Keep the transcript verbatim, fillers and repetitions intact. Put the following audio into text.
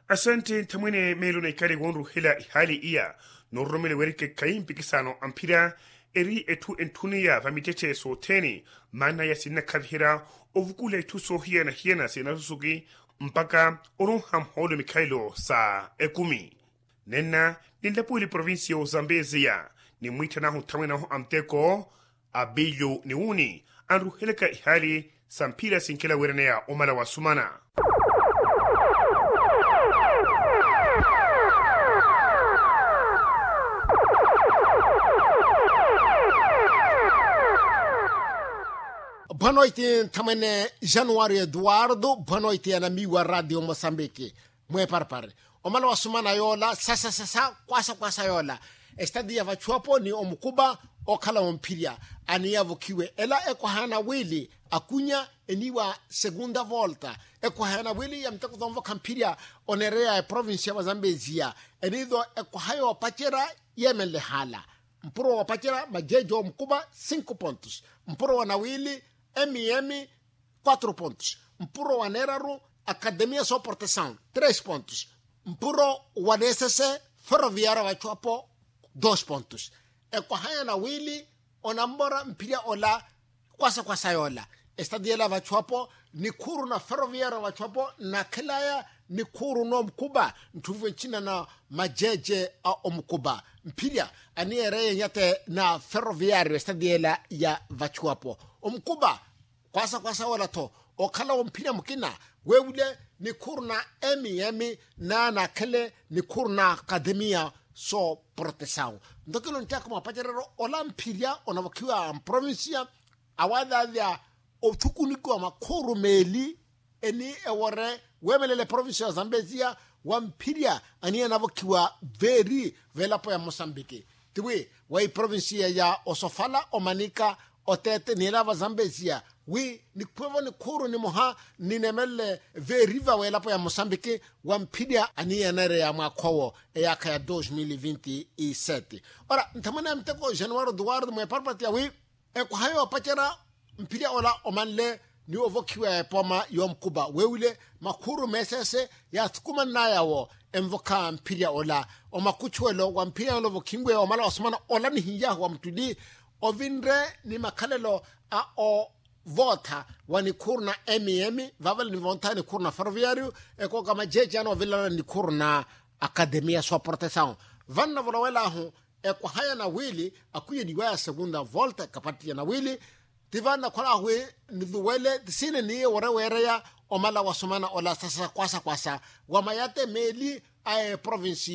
Asante nthamwene meelo na ikale wonruhela ihaali iya. Nororomele werike khayi mpikisano a mphira eri etthu entthuniya va mittetthe sothene. Maana yasinnakhaviherya ovukula itthu soohiyana-hiyana sinasusuki mpaka oronha mhoolo mikhalelo sa ekumi. Nenna ninlapuweli provincia ozambeziya, nimwiitthanahu nthamwene ahu a muteko abilyu ni wuni anruhelaka ihaali sa mphira sinkela weeraneya omala wasumana. Bwanoiti nthamwene januwari eduwardo bwanoiti ya namiiwa radio mosambiki. Mweeparpari omala wasumana yoola sasa sasa kwasa kwasa yoola. Estadi ya vachuwapo ni omukuba okhala womphirya aniyavokhiwe ela ekwaha ya nawili akunya eniiwa segunda volta. Ekwaha ya nawili ya muteko tonvokha mphirya oneereya eprovincia ya vazambeziya eniido ekwaha yoopacerya yeemenle haala. Mpuro woopacerya majeeje omukuba cinco pontos. Mpuro wa nawili emiemi quatro pontos. Mpuro wa neeraru akademia soportesawu tres pontos. Mpuro wa neesese ferroviaria vachuwapo dos pontos. Ekwaha ya nawili onamora mphirya ola kwasa kwasa yoola. Estadi yela vachuwapo nikhuuru na ferroviaria vachuwapo nakhelaya nikhuuru n'omukuba ntthuvu ncina na majeeje a omukuba. Mphirya aniyeereye nyate na ferroviario estadi yela ya vachuwapo omukuba kwasa kwasa woola-tho okhala womphirya mukina weewule nikhuuru na emiemi na naakhele nikhuuru na akademia sooprotesawu. Ntokelo nttiakha mwapacereryo ola mphirya onavokhiwa mprovincia awaadhaadhya othukunikiwa makhuuru meeli eni ewore weemelela eprovincia ya zambeziya wa mphirya aniye anavokhiwa veeri veelapo ya mosambiki. Tiwi wa iprovincia ya osofala omanika oteete ni ela vazambeziya wi nikhuwevo nikhuuru nimoha ninemelele veeriva w'elapo ya mosambiki wa mphirya aniyenereya mwaakha owo eyaakha ya dos mil vinti y sete. Ora nthamwene ya muteko januwari duwardo mweeparpati ya wi ekwaha yoopacerya mphirya ola omanle ni ovokhiwa ya epooma y'omukuba weewile makhuuru meeseese yaathukumannaya wo envokha mphirya ola. Omakuchuwelo wa mphirya ola ovokhinwe omala wasumana ola nihiyahu wa muttuli ovinre ni makhalelo a ovootha wa nikhuuru na emiemi vaavale nivoontha nikhuuru na ferroviario ekooka majeeje ana ovilana nikhuuru na akademia sooprotesawu. Vannavolowelahu ekwaha ya nawili akhwiyeliwa ya segunda volta ekapatti ya nawili. Ti vannakholahu wi niduwele ti siine niye wore weereya omala wasumana ola sasa kwasa kwasa wa mayate meeli a eprovincia